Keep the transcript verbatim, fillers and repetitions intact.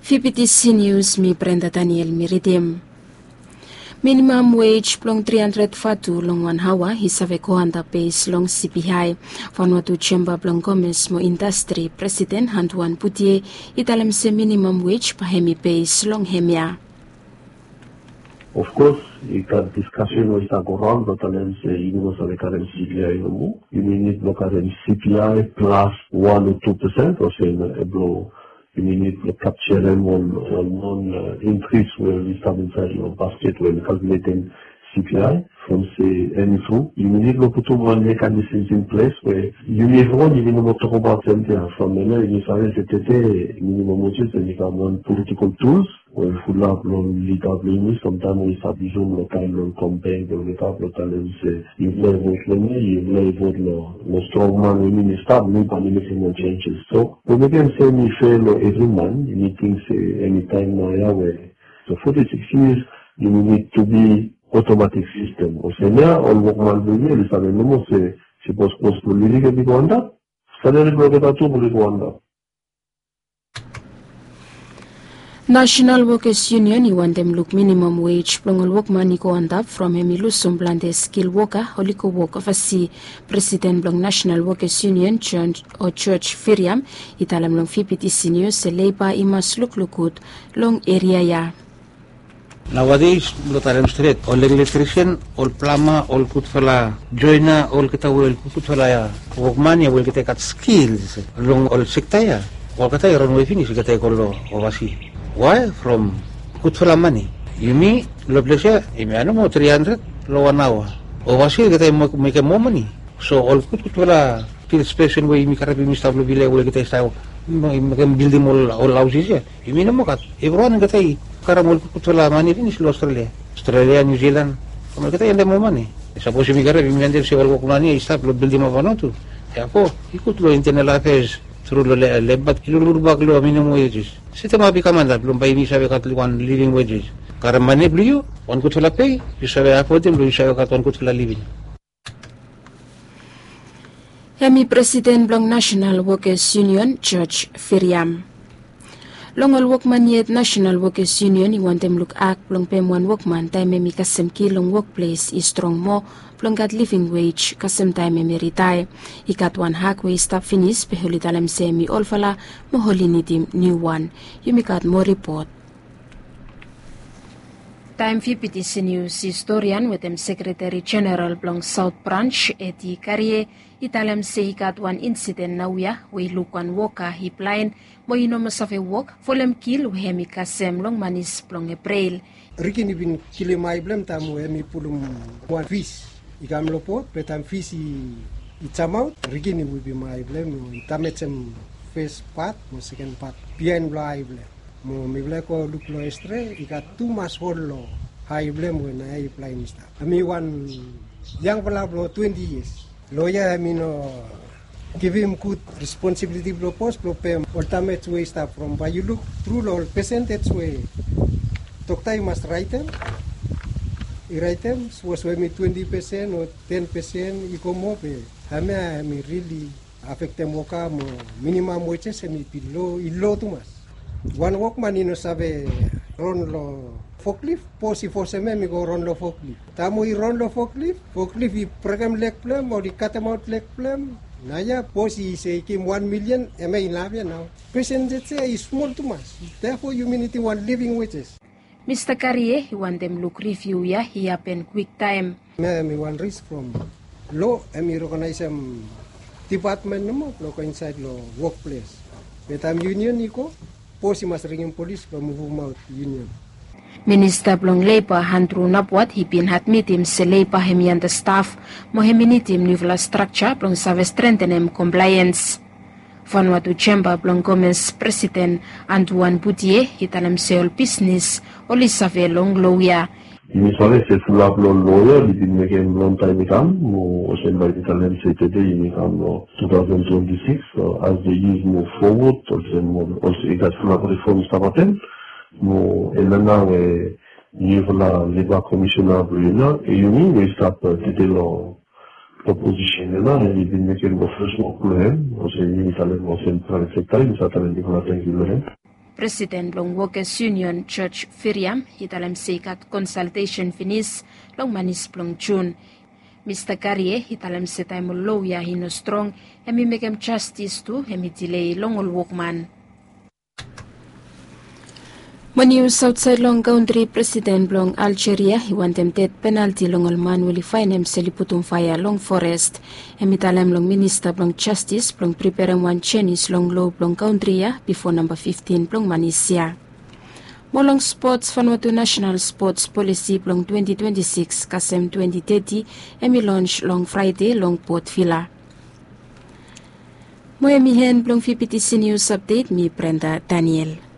Fifty C News, mi Brenda Daniel mi ridim. Minimam wage blong tri handred vatu long wan aoa i save go antap bes long C P I. Vanuatu Chamber blong Komes mo Indastri presiden Antuan Butie i talem se minimam wage bae hemi bes long hemia. Of course, i gat diskasen we i stap go raon blong talem se yumi no save karem C P I nomo. Yumi nid blong karem C P I plas wan o tu pesen olsem blong yumi nid blong kapserem ol non inkris we i stap insaed long basket we i kalkuletem C P I. From se hemi tru yumi nid blong putum wan mekanisms in ples we yumi evriwan yumi no moa tokbaot semting. From hemia yumi save se tede minimam wages hemi kam wan politikol tuls we fulap long lida blong yumi samtaem we i stap yusum long taem long kompleng blong lida blong talem se yufala i vot long mi, yufala i vot long strongman we yumi stap, mi bae mi mekem ol changes. So we mekem se mi fea long evri man. Yumi ting se enitaem naoia we so forty six years yumi nid tu bi otomatik sistem olsem ya ol wokman blong yumi oli save nomo se sipos kos blong living hemi go antap, salari blong olgeta tu oli go antap. Nasenal Wokas Yunion i wantem luk minimam wage blong ol wokman i go antap from hemi lusum plante skil woka oli go wok ovasi. Presiden blong Nasenal Wokas Yunion John o George Firiam i talem long V P T C News se leiba i mas lukluk gud long eria ya. Naoades blong talem stret ol elektrisen, ol plama, ol gudfala joena, olgeta we ol gudfala wokman ya we olgeta i gat skils long ol sekta ya, olgeta i ronwe finis olgeta i go long ovasi. Wae? From gudfala mane. Yumi long ples ya yumi ya nomo tri handred long wan aoa. Ovasi olgeta i mekem moa mane. So ol gudgudfala stil spesen we yumi karem yumi stap long vila we olgeta i stap mekem bildim ol haosis ya. Yumi no moa gat. Evriwan olgeta i karem ol gudgudfala mane finis long Australia, Australia, New Zealand. Olgeta i wantem moa mane. Sapos yumi karem yumi wantem se ol wokman ya i stap long bildimap Vanuatu, therefore i gud long internal affairs tru long leba i lulubak long minimam wages. Setemap i kam antap blong bae yumi save gat wan living wages. Karem mane blong yu, wan gudfala pei, yu save afodem blong yu save gat wan gudfala living. Hemi presiden blong Nasenal Wokas Yunion George Firiam. Long ol wokman yet Nasenal Wokas Yunion i wantem luk ak blong pem wan wokman taem hemi kasem ki long wokples i strong moa blong gat living wage kasem taem hemi ritaea. I gat wan ak we i stap finis be oli talem se hemi olfala mo oli nidim niuwan. Yumi gat moa ripot. Taem V P T C News historian wetem sekretari jeneral blong Saot Branj Edi Karie i talem se i gat wan insiden naoia we i luk wan woka i blaen mo i no moa save wok folem kil we hemi kasem long manis blong Eprel. Rikin i bin kilim ae blong hem taem we hemi pulum wan fis i kam long bot be taem fis i jamaot rikin i wipim ae blong hem i damejem fes pat mo seken pat biaen blong ae blong hem. Mo mifala i go luk long estre i gat tumas hol long ae blong hem we naoia i blaen i stap. Hemi wan yangfala blong twenti yias. Loea hemi no givim gud responsibiliti blong bos blong pem ol damej we i stap from bae yu luk tru long ol pesentej we dokta i mas raetem i raetem sapos we hemi twenti pesen o ten pesen i go moa be hemia hemi rili afektem woka mo minimam wejes hemi bin lo i lo tumas. Wan wokman i no save ron long foklif, bos i fosem hem i go ron long foklif. Taem we i ron long foklif, foklif i brekem leg blong hem o i katemaot leg blong hem. Naoia bos i se i givim wan milian, hemia inaf ya nao. Pesentej ya i smol tumas. Therefore yumi nidim wan living wages. Mista Karie i wantem luk riviu ya i hapen kwiktaem. Hemia hemi wan ris from lo hemi rekognaesem dipatmen nomo blong go insaed long wokples. Be taem yunion i go, bos i mas ringim polis blong muvumaot yunion. Minista blong Leiba Andru Napwat i bin admitim se leiba hemi andastaf mo hemi nidim niufala strakja blong save strentenem komplaeans. Vanuatu Jemba blong Komes presiden Antuan Butie i talem se ol bisnes oli save long loea. Yumi save se fulap long loea oli bin mekem longtaem i kam mo olsem bae yumi talem se tede yumi kam long tu taosen twenti sikis as the years move forward olsem olsem i gat fulap rifom i stap hapen. Mo hemia nao we niufala leba komisena blong yumi nao e yumi we i stap tede long oposisen ya nao hemi bin mekem long fes wok blong hem olsem yumi talem olsem praevet sekta yumi save talem bigfala tangkiu long hem. Presiden blong Wokes Yunion Joj Firiam i talem se i gat konsaltesen finis long manis blong Jun. Mista Garie i talem se taem ol lo ya i no strong, hem i mekem jastis tu hem i dilei long ol wokman. Mo nius aotsaed long kantri, presiden blong Aljeria i wantem ded penalti long ol man we oli faenem se oli putum faea long forest. Hem i talem long minista blong jastis blong priperem wan jenis long lo blong kantri ya bifo namba fiftin blong manis ya. Mo long spots, Vanuatu nasenal spots polisi blong twenti twenti sikis kasem twenti teti hem i lons long fraede long Port Vila. Mo hem i hen blong vptc nius apdet. Mi Brenda Daniel.